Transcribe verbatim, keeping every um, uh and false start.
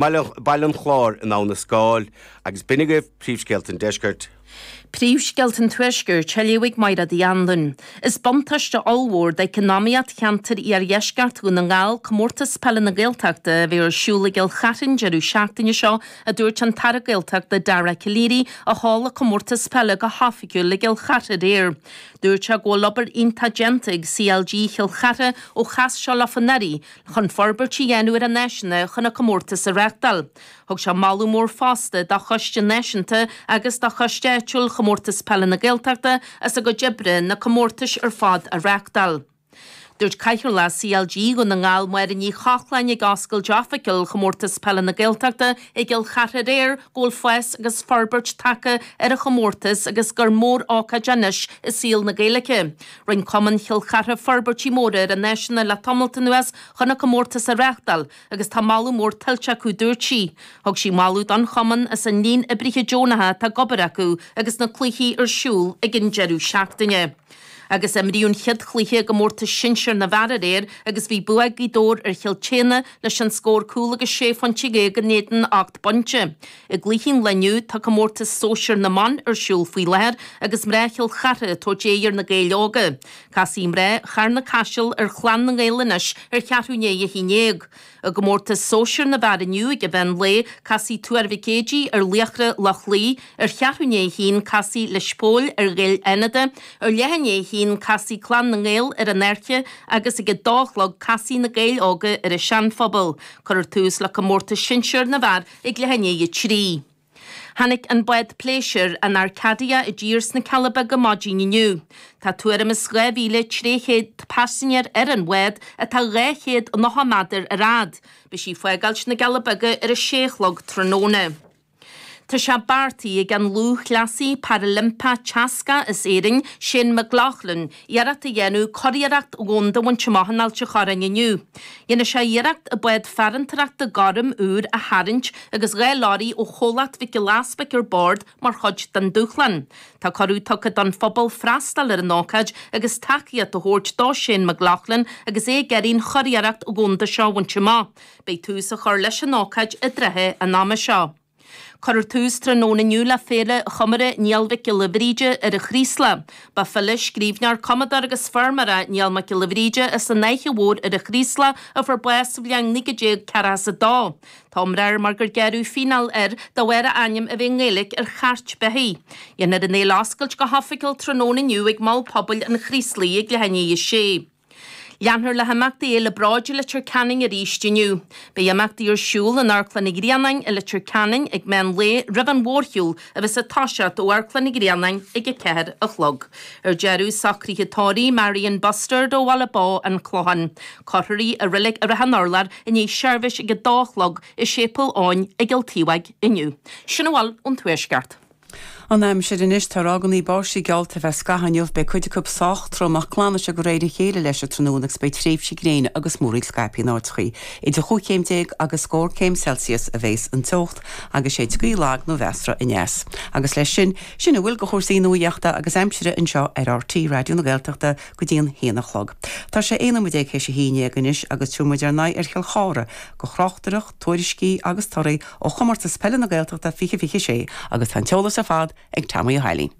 Baile an Chláir in Abha na Scáil, agus b'in agaibh príomhscéalta an deiscirt. Príomhscéalta an Tuaiscirt, á léamh ag Mairéad Uí Anluain. Is buntáiste ollmhór d'eacnamaíocht cheantar iardheisceart Dhún na nGall Comórtas Peile na Gaeltachta a bheidh ar siúl i gCill Chartha an deireadh seachtaine seo, a dúirt an tAire Gaeltachta Dara Calleary a sheol an comórtas peile go hoifigiúil i gCill Chartha aréir. Dúirt sé go bhfuil obair iontach déanta ag CLG Chill Chartha ó chas sé leofa anuraidh chun forbairt a dhéanamh ar an áiseanna chun an comórtas a reáchtáil. Thug sé moladh mór fosta do Choiste Náisiúnta agus do Choiste Áitiúil Chomórtas Peile na Gaeltachta as a gcuid oibre na comórtais ar fad a reáchtáil. Dúirt Cathaoirleach CLG Dhún na nGall Máire Ní Chochláin ag oscailt oifigiúil Chomórtas Peile na Gaeltachta i gCill Chartha aréir go bhfuil fás agus forbairt tagtha ar an chomórtas agus gur mór-ócáid anois i saol na Gaeilge. Rinne Cumann Chill Chartha forbairtí móra ar an áiseanna le tamalt anuas chun an comórtas a reáchtáil agus tá moladh mór tuillte acu dúirt sí. Thug sí moladh don chumann as an líon oibrithe deonacha atá ag obair acu agus na cluichí ar siúl ag an deireadh seachtaine. Agus imríodh an chéad chluiche i gcomórtas sinsir na bhfear aréir agus bhí bua ag Gaoth Dobhair ar Chill tSéadhna leis an scór cúl agus sé phointe déag in éadan ocht bpointe. I gcluichí an lae inniu tá comórtas sóisir na mban ar siúl faoi láthair agus mná Chill Chartha ag tabhairt aghaidh ar na Gaeil Óga. Casfaidh mná Charna Caiseal ar Chlann na nGael anois ar cheathrú i ndiaidh a haon déag. I gcomórtas sóisir na bhfear inniu ag an mheán lae, casfaidh Tuar Mhic Éadaigh ar Laochra Loch Lao, ar cheathrú i ndiaidh a haon casfaidh Lios Póil ar Ghaeil Fhánada, ar leath i ndiaidh a haon casfaidh Clann na nGael ar an Fhairche agus ag a dó a chlog casfaidh na Gaeil Óga ar an Seanphobal. Cuirfear tús le comórtas sinsir na bhfear ag leath i ndiaidh a trí. Tháinig an bád pléisiúir an Arcadia i dtír sna Cealla Beaga maidin inniu. Tá tuairim is dhá mhíle trí chéad paisinéir ar an bhád atá dhá chéad nócha méadar ar fhad. Beidh sí ag fágáilt na gCealla Beaga ar a sé a chlog tráthnóna. Tá sé beartaithe ag an lúthchleasaí Parailimpeach teascach as Éirinn, Shane McLoughlin, iarracht a dhéanamh curiarracht dhomhanda a bhaint amach in Ailt an Chorráin inniu. Dhéanfaidh sé iarracht an bád farantóireachta gorm úr a tharraingt agus dhá leoraí ó chomhlacht Mhic Giolla Easpaig ar bord mar chuid den dúshlán. Tá cuireadh tugtha don phobal freastal ar an ócáid agus tacaíocht a thabhairt do Shane McLoughlin agus é ag iarraidh an churiarracht dhomhanda seo a bhaint amach. Beidh tús á chur leis an ócáid i dtrátha an ama seo. Cuirfear tús tráthnóna inniu le Féile Chomóradh Niall Mhic Giolla Bhríde ar an Chraoslach. Ba file, scríbhneoir, cumadóir agus feirmeoir é Niall Mac Giolla Bhríde as an Fhaiche Mhór ar an Chraoslach a fuair bás sa bhliain naoi déag ceathracha a dó. Tá iomrá air mar gur gearradh fíneáil air de bharr a ainm a bheith i nGaeilge ar chairt beithígh. Dhéanfar an fhéile a oscailt go hoifigiúil tráthnóna inniu ag Mol Pobail an Chraoslaigh ag leath i ndiaidh a sé. Leanfar le himeachtaí Fhéile Bróid i Leitir Ceanainn arís inniu. Beidh imeachtaí ar siúl in Amharclann an Ghrianáin i Leitir Ceanainn ag meán lae roimh an mhórshiúl a bheas ag toiseacht ó Amharclann an Ghrianáin ag a ceathair a chlog. Ar deireadh, socruithe tórraimh Marion Bustard ó Bhaile Bó, An Clochán. Cuirfear í i Reilig Ráth an Urláir i ndiaidh seirbhís ag a dó a chlog i Séipéal Eoin i gCill Taobháigh inniu. Sin a bhfuil ón Tuaisceart. An aimsir anois, tá ráigeanna báistí geallta ar feadh scaithimh inniu, beidh cuid acu sách trom ach glanfaidh sé de réir a chéile leis an tráthnóna agus beidh tréimhsí gréine agus múraíl scaipthe in áiteachaí. Idir chúig chéim déag agus scór céim Celsius a bheas an teocht agus séidfidh gaoth lag nó mheasartha aneas. Agus leis sin, sin a bhfuil de chúrsaí nuachta agus aimsire anseo ar RTÉ Raidió na Gaeltachta go dtí an haon a chlog. Tá sé aon nóiméad déag théis a haon déag anois agus tabharfaidh muid ár n-aghaidh ar Chill Chartha do thráchtaireacht, tuairiscí agus torthaí ó chomórtas peile na Gaeltachta fiche fiche sé agus tá an t-eolas ar fad ag Tommy Ó hAilín.